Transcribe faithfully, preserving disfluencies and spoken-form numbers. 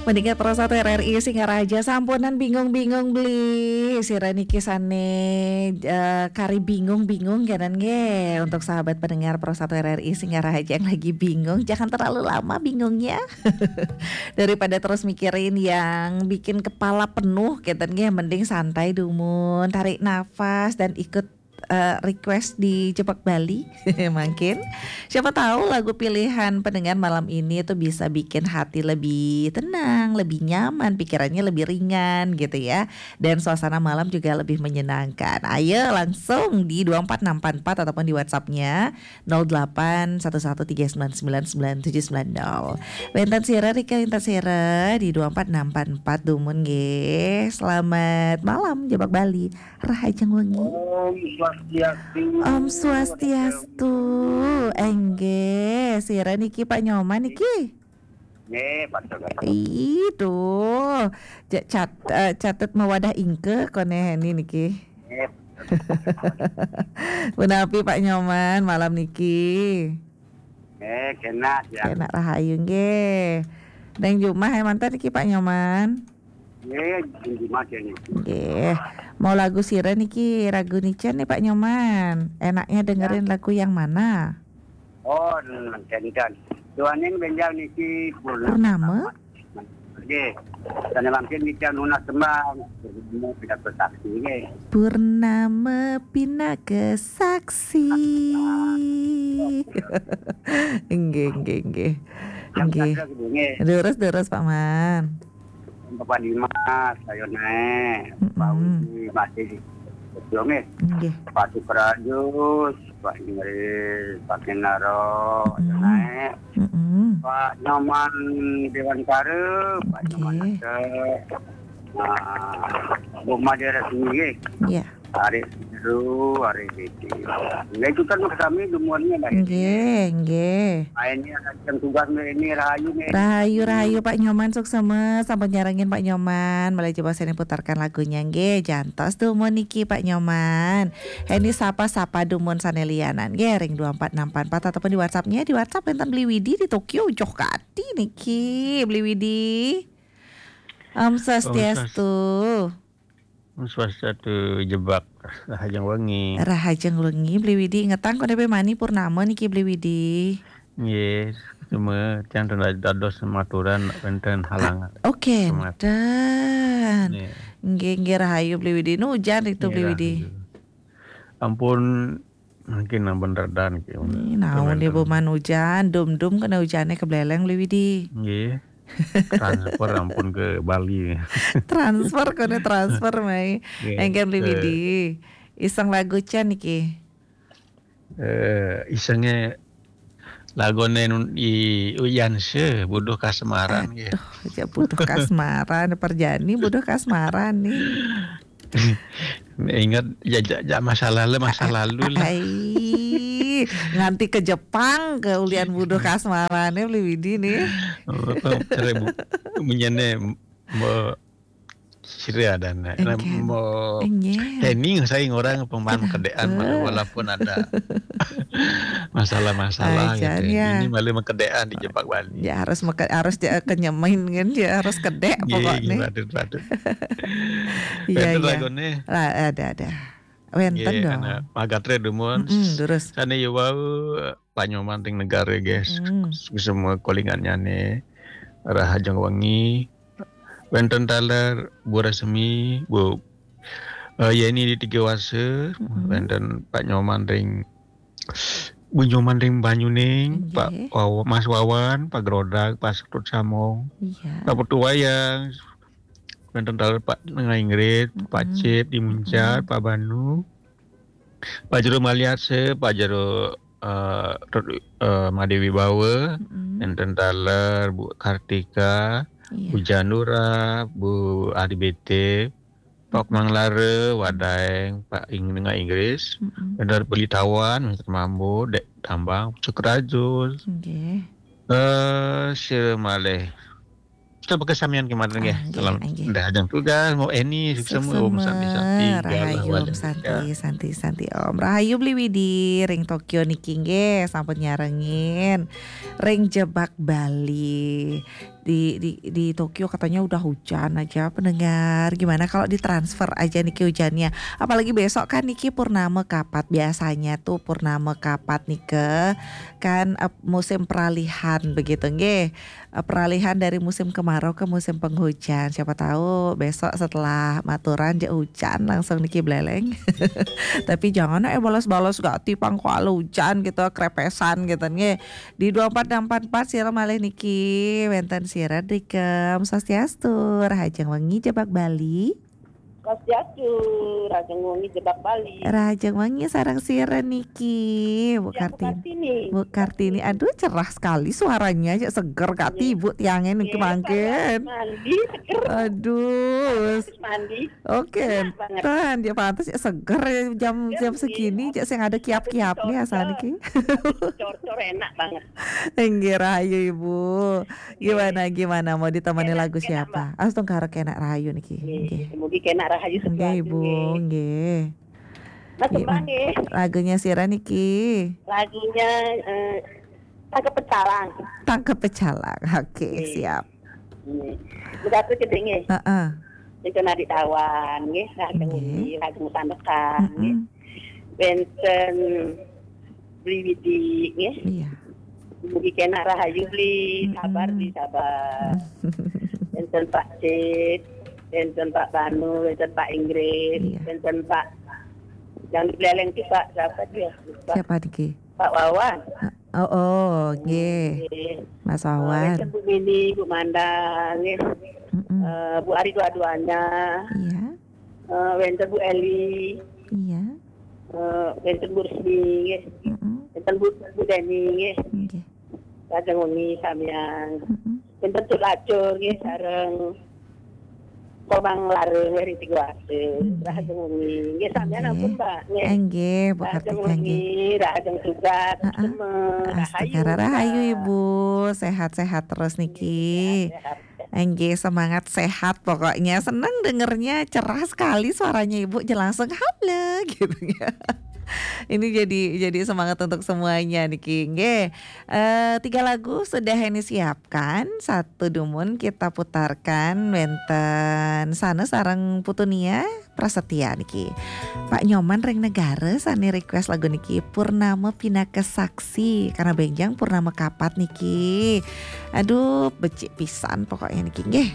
Pendengar Pro satu R R I Singaraja, sampunan bingung-bingung beli. Sira niki sane, eh, kari bingung-bingung kenen nggih. Untuk sahabat pendengar Pro satu R R I Singaraja yang lagi bingung, jangan terlalu lama bingungnya. Daripada terus mikirin yang bikin kepala penuh keten nggih, mending santai dumun, tarik nafas dan ikut, eh, request di Jebak Bali. Mungkin siapa tahu lagu pilihan pendengar malam ini itu bisa bikin hati lebih tenang, lebih nyaman, pikirannya lebih ringan gitu ya. Dan suasana malam juga lebih menyenangkan. Ayo langsung di dua empat enam empat empat ataupun di WhatsApp-nya nol delapan satu satu tiga sembilan sembilan sembilan tujuh sembilan nol. Wenten sira, Rika, wenten sira di dua empat enam empat empat dumun nggih. Selamat malam, Jebak Bali. Rahajeng wengi. Om Swastiastu. Om Swastiastu. Enggih, sira niki Pak Nyoman niki? Nggih, Pak Nyoman. Ih, tuh. Ja-, cat-, eh, catet mawadah ingke kone Heni niki. Nggih. Punapi Pak Nyoman malam niki? Nggih, kenak ya. Kenak rahayu nggih. Neng jumah e manten niki Pak Nyoman? Nggih, jumah kene. Nggih. Mau lagu sira niki, ragu nicen nih Pak Nyoman. Enaknya dengerin lagu yang mana? Oh, enten. Duaning benjang niki Purnama. Purnama? Nggih. Sane mangkin niki nunas tembang. Purnama pinaka saksi nggih. Purnama pinaka saksi. Nggih, nggih, nggih. Nggih. Terus, terus, Pak Man. Bapak Dimas, ayo naik. Mm-mm. Pak Widi masih di Jogja, nggih. Nggih. Pak Sukrajus, Pak Inggris, Pak Kenaro, ayo naik. Mm-mm. Pak Nyoman Dewan Kare, Pak Nyoman Nggih. Ate. Nah, Bu Made Resmi, nggih. Iya. Arek Seru, Arek Dede. Nggih, itu kan kami semuanya, Mbak. Nggih, nggih. Nah, ini ada yang tugas, Mbak, ini rahayu, Mbak. Rahayu, rahayu, Pak Nyoman, suksema, sampun nyarengin Pak Nyoman. Mulai coba saya putarkan lagunya, nggih. Jantos tuh, mun niki, Pak Nyoman. Ini sapa-sapa dumun sane lianan, nggih, ring dua empat enam empat empat ataupun di WhatsApp-nya, di WhatsApp enten Beli Widi di Tokyo, joh kati niki, Beli Widi. Om Swastiastu. Om Swastiastu, Jebak. Rahajeng wengi. Rahajeng wengi, Beli Widi. Ngetang kok depe mani purnama niki, Beli Widi? Nggih, cuma tiang ten dados maturan wenten halangan. Oke, semangat. Enten. Nggih. Nggih, nggih, rahayu, Beli Widi. Nu ujan itu, Beli Widi? Nggih, rahayu. Ampun, mungkin ampun redan ki. Ih, naon dia, Bu Man, ujan, dum-dum kena ujane kebeleleng, Beli Widi. Nggih. Transfer ampun ke Bali. Transfer, kone transfer, mai. Nggih, engken Beli Widi. Iseng lagu can niki. Eh, isenge lagune nun-, i Uyan se, Buduh Kasmaran, nggih. Aduh, aja Buduh Kasmaran, Perjani Buduh Kasmaran nih. Ingat, ya, ja, ja, masa lalu, masa lalu lah. Ai, nganti ke Jepang, ke ulian Buduh Kasmaran nih, Beli Widi nih. Oh, cerai bu-, menyene, mo-, sira dan, eh, mo-, Heni saya orang pemahaman kedean, walaupun ada masalah-masalah gitu. Ini malah mengkedean di Jebak Bali. Ya, harus meke-, harus ja-, kenyemin kan, ya, harus kedek pokoknya. Nggih, nggih, patut, patut. Iya, iya. Lagune. Lah, ada, ada. Wenten dong. Nggih, ana magatre dumun. Mm-mm, terus. Sane ya wau, Pak Nyoman ring negare, guys. Mm. Semua kolingannya nih. Rahajeng wengi. Wenten taler Bu Resmi, Bu, eh, Yeni di Tiga Wase, wenten Pak Nyoman ring Bu Nyoman ring Banyuning, Pak Wawa-, Mas Wawan, Pak Grodag, Pak Sekut Samong, Pak Putu Wayang, wenten taler Pak Nengah Ingrid, Pak Cip di Muncar, Pak Banu, Pak Jero Maliase, Pak Jero, eh, Rut-, eh, Made Wibawa, wenten taler Bu Kartika, Bu Janura, Bu Ari B T, Pak Mang Lara, Wadaeng, Pak Ing-, Nengah Inggris, Dr. Beli Tawan, Mister Mambo, Dek Tambang, Sukrajus. Nggih. Eh, sira malih. Sudah bekas samian kemarin, nggih. Ah, nggih, salam. Nggih. Nggih, ajeng tugas, mau Eni, suksema, Om Santi, Santi, rahayu, Om Santi, Santi, Santi, Om. Rahayu Beli Widi, ring Tokyo niki, nggih, sampun nyarengin. Ring Jebak Bali. di, di, di Tokyo katanya udah hujan aja, pendengar. Gimana kalau ditransfer aja niki hujannya? Apalagi besok kan niki purnama kapat. Biasanya tuh purnama kapat nih ke kan eh, musim peralihan begitu nggih. Eh, Peralihan dari musim kemarau ke musim penghujan. Siapa tahu besok setelah maturan je hujan langsung niki beleleng. Tapi jangan eh balas-balas gak tipang kuala hujan gitu, krepesan gitu nggih. Di dua empat enam empat empat sira malih niki wenten sira Drikem Swastiastu, Rahajeng Wengi Jebak Bali. Swastiastu, Rahajeng Wengi Jebak Bali. Rahajeng Wengi sareng sira niki, Bu Ya, Bu Kartini. Kartini. Bu Kartini, aduh cerah sekali suaranya, cek seger Kak Iya. Ibu tiangnya niki Iya, mangkin. Mandi seger. Aduh, Terus mandi. oke. Enak banget. Kan dia pantas ya seger ya jam Iya, jam iya. segini, cek sing ada kiap-kiap nih asal niki. Cor-cor enak banget. Nggih rahayu Ibu. Gimana gimana mau ditemani Enak, lagu enak, siapa? Astungkara kenak rahayu niki. Nggih. Nggih, mugi kenak rahayu Nggih sesuatu Ibu, nggih. Nggih. Mas Gimana? Kembang nggih. Lagunya sira niki. Lagunya eh, Tangkep Pecalang. Tangkep Pecalang. Oke, Nggih. Siap. Nggih. Begitu gedhe nggih. Heeh. Itu Nadik Tawan nggih, Rahajeng Nggih. Wengi, Rahajeng Sandekan nggih. Mm-mm. Wenten Bli Widi nggih. Iya. Mugi kenak rahayu Bli, Mm-mm. sabar Bli, sabar. Wenten Pak Cid, wenten Pak Banu, wenten Pak Inggris, Iya. wenten Pak yang di Buleleng itu Pak siapa dia? Lupa. Siapa niki? Pak Wawan. Oh, oh, nggih. Nggih. Mas Eh, Wawan. Wenten Bu Mini, Bu Manda, nggih. Mm-mm. Eh, Bu Ari dua-duanya. Iya. Eh, wenten Bu Eli. Iya. Eh, wenten Bu Rusmi, nggih. Mm-mm. Wenten Bu, Bu Deni, nggih. Nggih. Rahajeng Wengi samian. Mm-mm. Wenten Cuk Lacur nggih sareng Komang Lareng ring Tigo Ase. Nggih. Rahajeng Wengi. Nggih samian Nggih. Ampun Mbak nggih. Nggih, Bu Rahajeng Kartika nggih. Wengi, Rahajeng Tugas, Heeh. Semeng, Rahayu. Astungkara rahayu Mbak. Ibu. Sehat-sehat terus niki. Sehat-sehat. Nggih, semangat sehat pokoknya. Senang dengernya, cerah sekali suaranya Ibu, je langsung halo gitu ya. Ini jadi jadi semangat untuk semuanya niki. Nggih. Eh, tiga lagu sudah ini siapkan. Satu dumun kita putarkan wenten sana sareng Putunia Prasetya niki. Pak Nyoman ring Negara sane request lagu niki Purnama Pinaka Saksi karena benjang purnama kapat niki. Aduh, becik pisan pokoknya niki nggih.